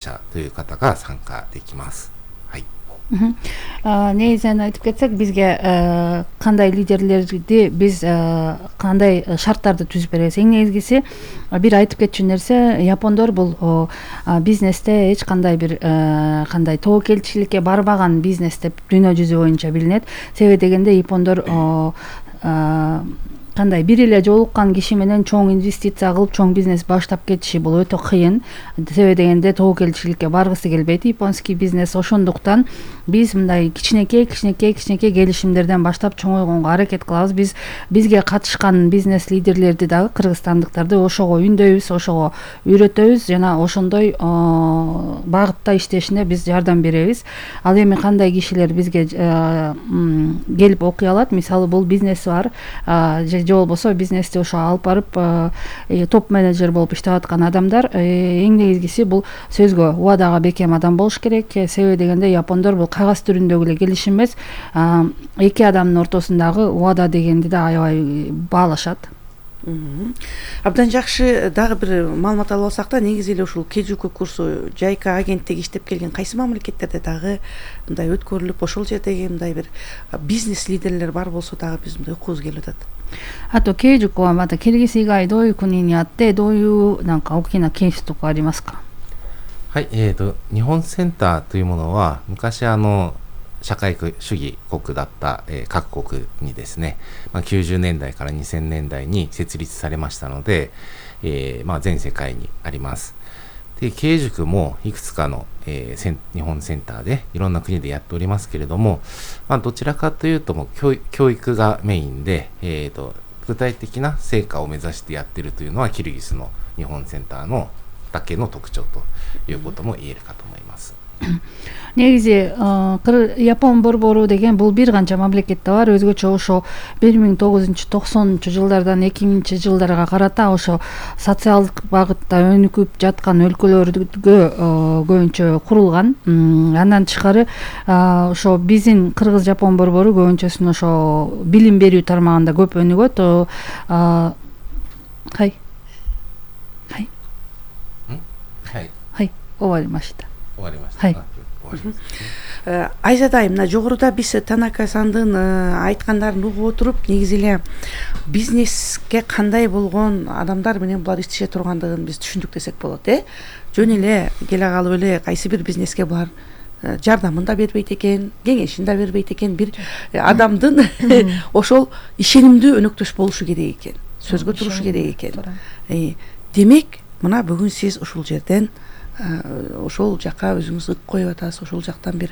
者という方が参加できます。はい。негизинен айтып кетсек, бизге кандай лидерлерди биз кандай шарттарды түзүп беребиз. Эң негизгиси бир айтып кетчү нерсе, япондор бул бизнесте эч кандай бир кандай тобокелчиликке барбаган бизнес деп дүйнө жүзү боюнча билинет. Себеби дегенде япондор кандай бир эле жолуккан киши менен чоң инвестиция кылып чоң бизнес баштап кетиши бул өтө кыйын. Себеби дегенде тобокелчиликке баргысы келбейт японский бизнес. Ошондуктан биз мындай кичинекей келишимдерден баштап чоңойгонго аракет кылабыз. Бизге катышкан бизнес лидерлерди дагы кыргызстандыктарды ошого үндөйбүз, ошого үйрөтөбүз жана ошондой багытта иштешине биз жардам беребиз. Ал эми кандай кишилер бизге келип окуй алат? Мисалы бул бизнеси бар, же болбосо бизнести ошо алып барып топ менеджер болуп иштеп аткан адамдар. Эң негизгиси бул сөзгө убадага бекем адам болуш керек. Себеби дегенде япондор бул кагаз түрүндөгү эле келишим эмес, эки адамдын ортосундагы убада дегенди да аябай баалашат. Абдан жакшы. Дагы бир маалымат алып алсак да, негизи эле ушул Кейджуку курсу Жайка агенттиги иштеп келген кайсы мамлекеттерде дагы мындай өткөрүлүп, ошол жердеги мындай бир бизнес лидерлер бар болсо дагы биз мындай окугубуз келип атат. あと、ケイジュコはまたキルギス以外どういう国にあって、どういうなんか大きなケースとかありますか？はい、日本センターというものは昔社会主義国だった、各国にですね、90年代から2000年代に設立されましたので、全世界にあります。で、経営塾もいくつかの、日本センターでいろんな国でやっておりますけれども、どちらかというともう教育がメインで、具体的な成果を目指してやっているというのはキルギスの日本センターのだけの特徴ということも言えるかと思います。негизи Япон борбору деген бул бир канча мамлекетте бар. Өзгөчө ошо 1990 жылдардан 2000 жылдарга карата ошо социалдык багытта өнүкүп жаткан өлкөлөргө көбүнчө курулган. Андан тышкары ошо биздин Кыргыз Жапон борбору көбүнчөсүн ошо билим берүү тармагында көп өнүгөт. Оваримашта. Айзадай, мына жогоруда биз Танака-сандын айткандарын угуп отуруп, негизи эле бизнеске кандай болгон адамдар менен булар иштеше тургандыгын биз түшүндүк десек болот, Жөн эле келе калып эле кайсы бир бизнеске булар жардамын да бербейт экен, кеңешин да бербейт экен. Бир адамдын ошол ишенимдүү өнөктөш болушу керек экен, сөзгө турушу керек экен. Демек, мына бүгүн сиз ушул жерден ошол жака өзүңүз ык коюп атасыз, ошол жактан бир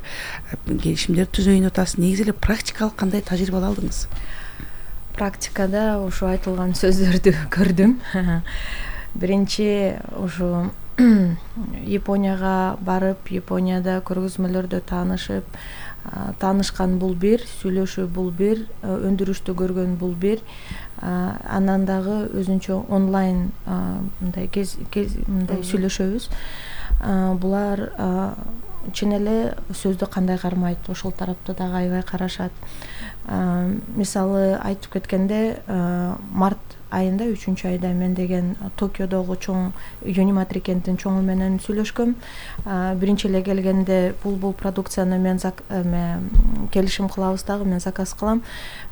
келишимдер түзөйүн атасыз. Негизи эле практикалык кандай тажрыйба алдыңыз? Практикада ошо айтылган сөздөрдү көрдүм. Биринчи ошо Японияга барып, Японияда көргөзмөлөрдө таанышкан бул бир, сүйлөшүү бул бир, өндүрүштү көргөн бул бир. Анан дагы өзүнчө онлайн мындай мындай сүйлөшөбүз. Булар чын эле сөздү кандай кармайт, ошол тарапта дагы аябай карашат. Мисалы айтып кеткенде, март айында 3-айда мен деген Токиодогу чоң Юниматри кенттин чоңу менен сүйлөшкөм. Биринчи эле келгенде бул продукцияны мен келишим кылабыз дагы, мен заказ кылам.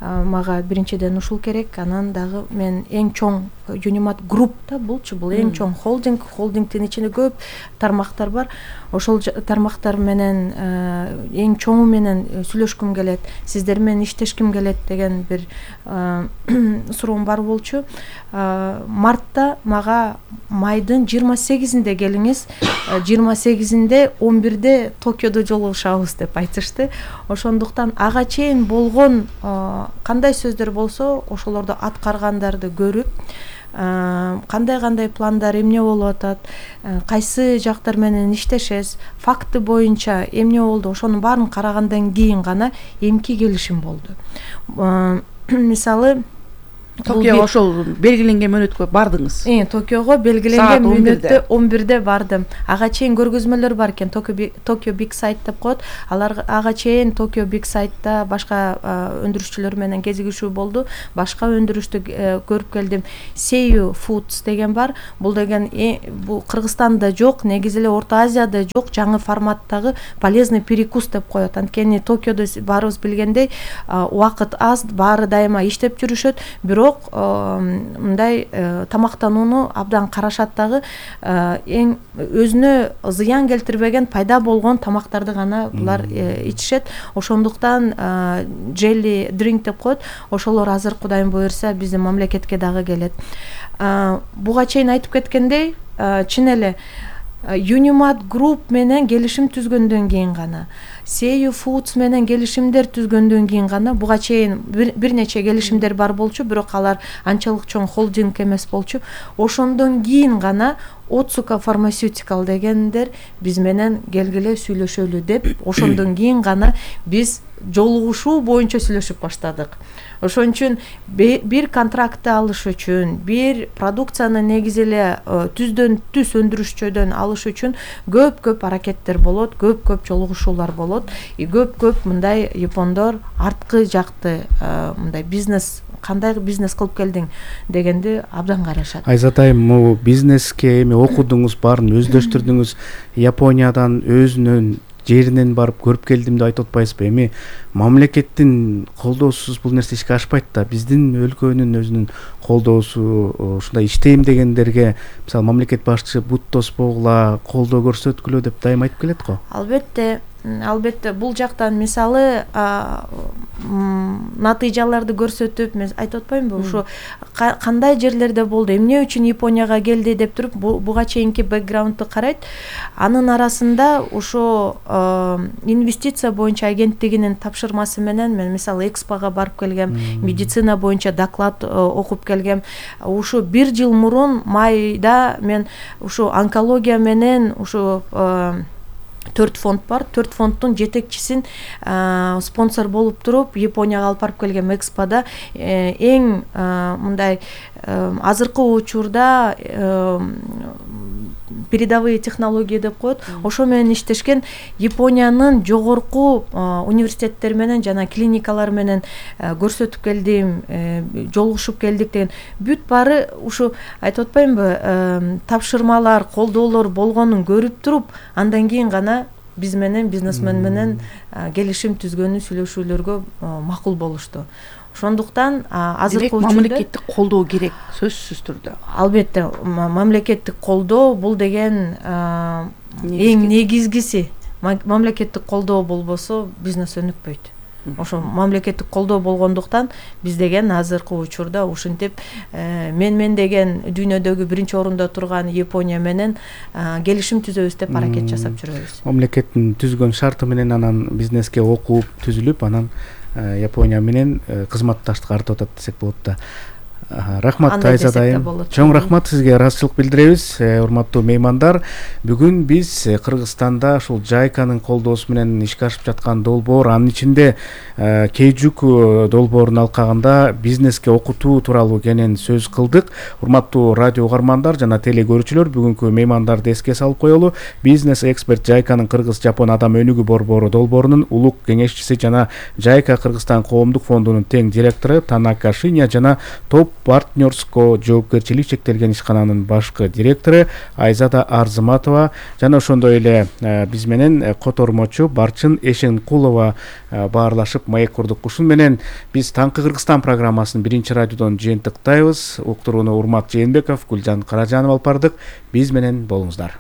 Мага биринчиден ушул керек. Анан дагы мен эң чоң Юнимат группта бул эң чоң холдингдин ичинде көп тармактар бар. Ошол тармактар менен эң чоңу менен сүйлөшкүм келет, сиздер менен иштешким келет деген бир суроом бар болчу. Мартта мага майдын 28-inde келиңиз, 28-inde 11-де Токиодо жолугушабыз деп айтышты. Ошондуктан ага чейин болгон кандай сөздөр болсо, ошолорду аткаргандарды көрүп, кандай пландар эмне болуп атат, кайсы жактар менен иштешес, факты боюнча эмне болду, ошонун баарын карагандан кийин гана эмки келишим болду. Мисалы Токиого ошол белгиленген мөөнөткө бардыңыз? Токиого белгиленген мөөнөттө 11-де бардым. Ага чейин көргөзмөлөр бар экен, Tokyo Big Sight деп коет. Алар ага чейин Tokyo Big Sight'та башка өндүрүшчүлөр менен кезигишүү болду. Башка өндүрүштү көрүп келдим. Seiyu Foods деген бар. Бул деген бул Кыргызстанда жок, негизи эле Орто Азияда жок жаңы форматтагы полезный перекус деп коет. Анткени Токиодо баарыбыз билгендей убакыт аз, баары дайыма иштеп жүрүшөт. Бирок мындай тамактанууну абдан карашат дагы, эң өзүнө зыян келтирбеген пайда болгон тамактарды гана булар ичишет. Ошондуктан jelly drink деп коет. Ошолор азыр Кудайым буйрса биздин мамлекетке дагы келет. Буга чейин айтып кеткендей, чын эле Unimat Group менен келишим түзгөндөн кийин гана, Seiyu Foods менен келишимдер түзгөндөн кийин гана, буга чейин бир нече келишимдер бар болчу, бирок алар анчалык чоң холдинг эмес болчу. Ошондон кийин гана Otsuka Pharmaceutical дегендер биз менен келгиле сүйлөшөлү деп, ошондон кийин гана биз жолугушуу боюнча сүйлөшүп баштадык. Ошон үчүн бир контрактты алыш үчүн, бир продукцияны негизи эле түздөн түз өндүрүшчөдөн алыш үчүн көп аракеттер болот, көп жолугушуулар болот. Көп мындай япондор арткы жакты мындай бизнес, кандай бизнес кылып келдиң дегенди абдан карашат. Айзат айым, бизнеске эми окудуңуз, баарын өздөштүрдүңүз, Япониядан өзүнүн жеринен барып көрүп келдим деп айтып атпайсызбы? Эми мамлекеттин колдоосуз бул нерсе ишке ашпайт да. Биздин өлкөнүн өзүнүн колдоосу, ушундай иштейм дегендерге мисалы мамлекет башчы бут тоспогула, колдоо көрсөткүлө деп дайым айтып келет го. Албетте бул жактан мисалы натыйжаларды көрсөтүп, мен айтып атпаймынбы, ушу кандай жерлерде болду, эмне үчүн Японияга келди деп туруп буга чейинки бэкграундду карайт. Анын арасында ушу инвестиция боюнча агенттигинин тапшырмасы менен мен мисалы Экспого барып келгем, медицина боюнча доклад окуп келгем. Ушу 1 жыл мурун майда мен ушу онкология менен ушу 4 фонд бар. 4 фонддун жетекчисин спонсор болуп туруп Японияга алып барып келгем Экспода. Эң мындай азыркы учурда передовые технологии деп коет. Ошо менен иштешкен Япониянын жогорку университеттери менен жана клиникалар менен көрсөтүп келдим, жолугушуп келдик деген. Бүт баары ушу айтып атпаймынбы, тапшырмалар, колдоолор болгонун көрүп туруп, андан кийин гана биз менен бизнесмен менен келишим түзгөнү сүйлөшүүлөргө макул болушту. Ошондуктан азыркы учурда мамлекеттик колдоо керек, сөзсүз түрдө. Албетте, мамлекеттик колдоо бул деген эң негизгиси. Мамлекеттик колдоо болбосо бизнес өнүкпөйт. Ошо мамлекеттик колдоо болгондуктан биз деген азыркы учурда ушинтип мен деген дүйнөдөгү биринчи орунда турган Япония менен келишим түзөбүз деп аракет жасап жүрөбүз. Мамлекеттин түзгөн шарты менен анан бизнеске окуп түзүлүп, анан Япония менен кызматташтык артып атат десек болот да. Рахмат Айзат айым. Чоң рахмат сизге, ыраазычылык билдиребиз. Урматтуу меймандар, бүгүн биз Кыргызстанда ушул JICAнын колдоосу менен ишке ашып жаткан долбоор, анын ичинде Кейжук долбоорун алкагында бизнеске окутуу тууралуу кенен сөз кылдык. Урматтуу радио угармандар жана теле көрүүчүлөр, бүгүнкү меймандарды эске салып коелу. Бизнес эксперт JICAнын Кыргыз-Жапон адам өнүгүү борбору долбоорунун улук кеңешчиси жана JICA Кыргызстан коомдук фондунун тең директору Танака Шиня жана Топ партнерско жоопкерчилик чектелген ишкананын башкы директору Айзада Арзыматова жана ошондой эле биз менен котормочу Барчын Эшенкулова баарлашып маек курдук. Ушун менен биз Таңкы Кыргызстан программасын биринчи радиодон жыйынтыктайбыз. Уктурууну Урмат Жээнбеков, Гүлжан Каражанова алып бардык. Биз менен болуңуздар.